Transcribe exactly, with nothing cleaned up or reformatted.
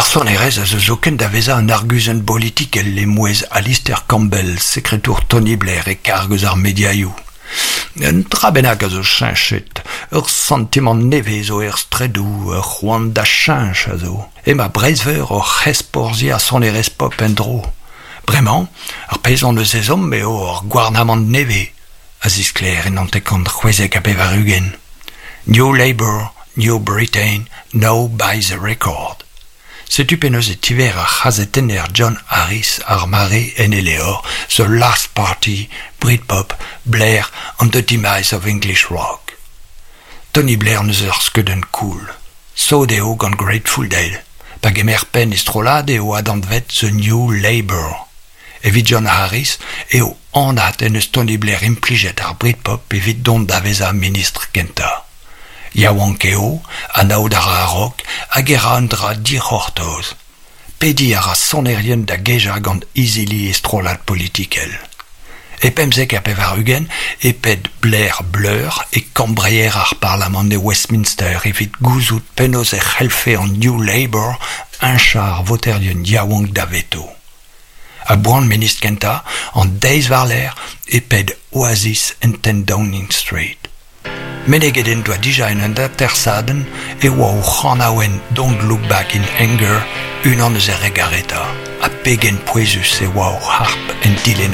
Ar sonerezh a zo zoken da vezañ un arguzenn bolitikel e-mouezh Alistair Campbell, sekretour Tony Blair e karg eus ar mediaioù. Un dra bennak a zo cheñchet, ur santimant nevez zo er straedoù, ur c'hoant da cheñch a zo. Emañ Breizh-Veur oc'h ezporzhiañ sonerezh pop en-dro. Bremañ, ar pezh hon eus ezhomm eo ur gouarnamant nevez, a zisklêr en hanter-kant c'hwezek ha pevar-ugent. New Labour, New Britain, now buy the record. Setu penaos e tiver ar c'hazetenner John Harris ar mare en e levr The Last Party, Britpop, Blair and the Demise of English Rock. Tony Blair 'neus ur skeudenn cool. Sot eo gant Grateful Dead. Pa gemer penn e strollad eo adanvet The New Labour. Evit John Harris eo anat en deus Tony Blair implijet ar Britpop evit dont da vezañ ministr kentañ. Yaouank eo, anaout a ra ar rock hag e ra un dra dic'hortoz. Pediñ a ra sonerien da gejañ gant izili e strollad politikel. E pemzek ha pevar-ugent e ped Blair Blur e kambreier ar parlamant e Westminster evit gouzout penaos e c'hellfe an New Labour heñchañ ar voterien yaouank daveto. A-boan ministr kentañ, an deiz war-lerc'h e ped Oasis en ten Downing Street. Meneget en doa dija en un atersadenn e oa o c'hanaouenn Don't Look Back in Anger unan eus e re garetañ, ha pegen pouezus e oa o harp en dilennadegoù.